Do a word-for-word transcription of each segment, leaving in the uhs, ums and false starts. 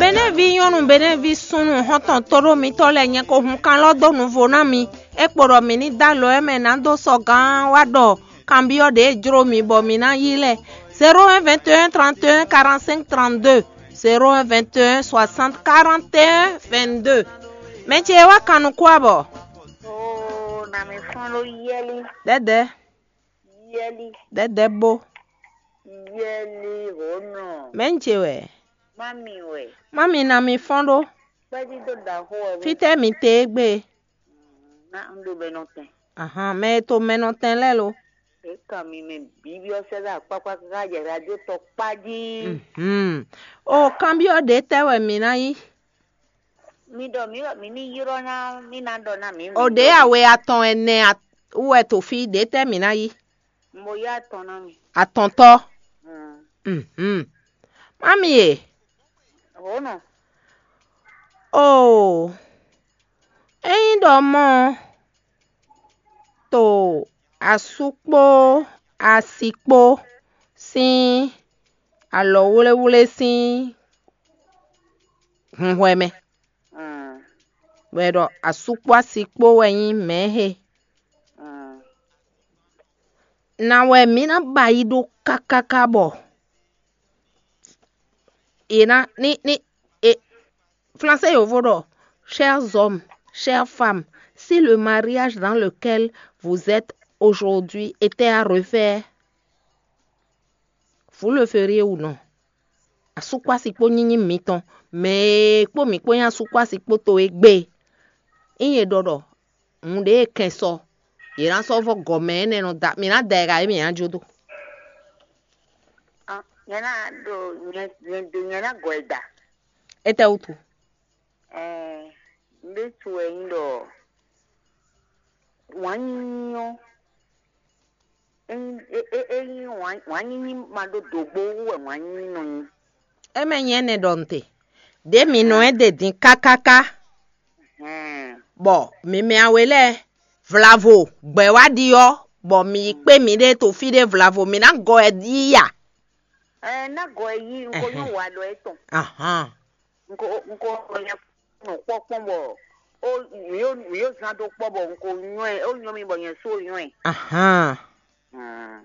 Benɛ́ví nyɔ́nu, Benɛ́ví súnnu, xɔ́ntɔn tóɖó mitɔ́ lɛ́ɛ, nyɛ ko hun kan lɔ dó nuvo ná mi. É kpo ɖɔ mǐ ní dó alɔ ɛ mɛ ná dó sɔ́ gán wá ɖɔ kanbyɔ́ ɖě e jló mi bɔ mǐ ná yí lɛ́ɛ: zéro un vingt et un trente et un quarante-cinq trente-deux, zéro un vingt et un soixante quarante et un vingt-deux. Mɛ ce e wá kan nukún abɔ? Oo, na mi fɔ́n ɖó yɛ́lí. Dɛdɛ. Yɛ́lí. Dɛdɛ bo. Yɛ́lí hǒnɔ. Mɛ ń ce wɛ? Mami wɛ. Mami, na mi fɔ́n ɖó. Kpɛ́dí dó ɖaxó wɛ. Fítɛ́ mi te égbé? Ná un ɖo mɛ nɔ tɛn. Ahan, mɛ e to mɛ nɔ tɛn lɛ́ɛ lo. É kan mi mɛ bǐbyɔ́ sɛ́ ɖo akpákpá káká jɛ radio tɔ kpá jí. Mhm. O kanbyɔ́ ɖě tɛ́ wɛ mǐ ná yí? Mi ɖɔ mǐ ɖɔ mǐ ní ylɔ́ ná mí ná ɖɔ ná mǐ. O ɖě awe atɔn ɛnɛ wú wɛ to fí, ɖě tɛ́ mǐ ná yí? Mo yá atɔn ná mi. Atɔntɔ́. Mhm. Mami e. Hǒnɔ. Oo, ényí ɖɔ mɔ́ to asú kpó asi kpó sín alɔwlɛ́wlɛ́ sín hunhwɛ mɛ, bɔ è ɖɔ asú kpó asi kpó wɛ nyí mɛ̌ he. Na wɛ mǐ ná ba yi ɖó kákáká bɔ è ná ní ní e Français yovo ɖɔ: chers hommes, chères femmes, si le mariage dans lequel vous êtes aujourd'hui était à refaire, vous le feriez ou non? Asúkpási kpó nyínyí mitɔn, mɛ e kpó mǐ kpó nyí asúkpási kpó to é gbé. Ényí è ɖɔ ɖɔ nǔɖé e kɛn sɔ, yě ná sɔ́ vɔ́ gɔ̌ mɛ énɛ́ nɔ da, mǐ ná da ɛ ɖa é mǐ ná jó dó. Nyɛ ná ɖo nyɛ nyɛ do nyɛ ná gɔ ɛ da. Étɛ́ wútu? Ɛɛ, ɖésú wɛ nyí ɖɔ wǎn nyínyí ɔ́, é nyí é é é nyí wǎn wǎn nyínyí ma ɖó dǒgbó wú wɛ wǎn nyínyí nɔ nyí. É mɛ nyí ɛnɛ ɖɔ nǔ te. Ɖě mǐ nɔ ɛ ɖe din kákáká, Hɛn. Bɔ mǐ mɛ awe lɛ́ɛ vlavo gbɛ̌ wá ɖi ɔ́, bɔ mǐ yi kpé mǐɖée to fí ɖé vlavo, mǐ ná gɔ ɛ yí ya. Ɛɛ, ná gɔ ɛ yí, un ko nyɔ́ wa ɖɔ ɛ tɔn. Ahan. Un ko un ko nya nɔ kpɔ́ kpɔ́n bɔ ó mǐ ó mǐ ó zán dó kpɔ́ bɔ un ko nyɔ́ ɛ, ó nyɔ́ mi bɔ nyɛ sú ó nyɔ́ ɛ. Ahan. Hmm.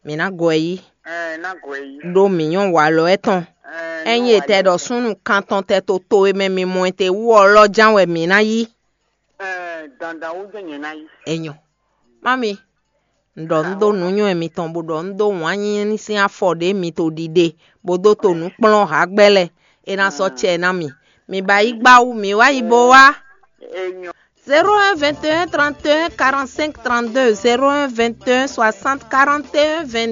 Mǐ ná gɔ ɛ yí. Ɛɛ, ná gɔ ɛ yí. Ɖó mǐ nyɔ́ walɔ ɛ tɔn. Ɛɛ, Ényí è tɛ ɖɔ súnnu kantɔn tɛ to to e mɛ mi mɔ ɛ te wú ɔ́ lɔ ján wɛ mǐ ná yí. Ɛɛ, dandan wú jɛ́n nyɛ ná yí. Enyɔ. Mami, un ɖɔ un dó nǔnywɛ́ mitɔn bó ɖɔ un dó wǎn nyínyí sín afɔ ɖě mi to ɖiɖe, bó dó to nǔ kplɔ́n hǎgbɛ́ lɛ́ɛ, é ná sɔ́ cɛ ná mi. Mi ba yí gbá wú, mi wá yi bó wá. Enyɔ. Zéro un vingt et un trente et un quarante-cinq trente-deux, zéro un vingt et un soixante quarante et un vingt-deux.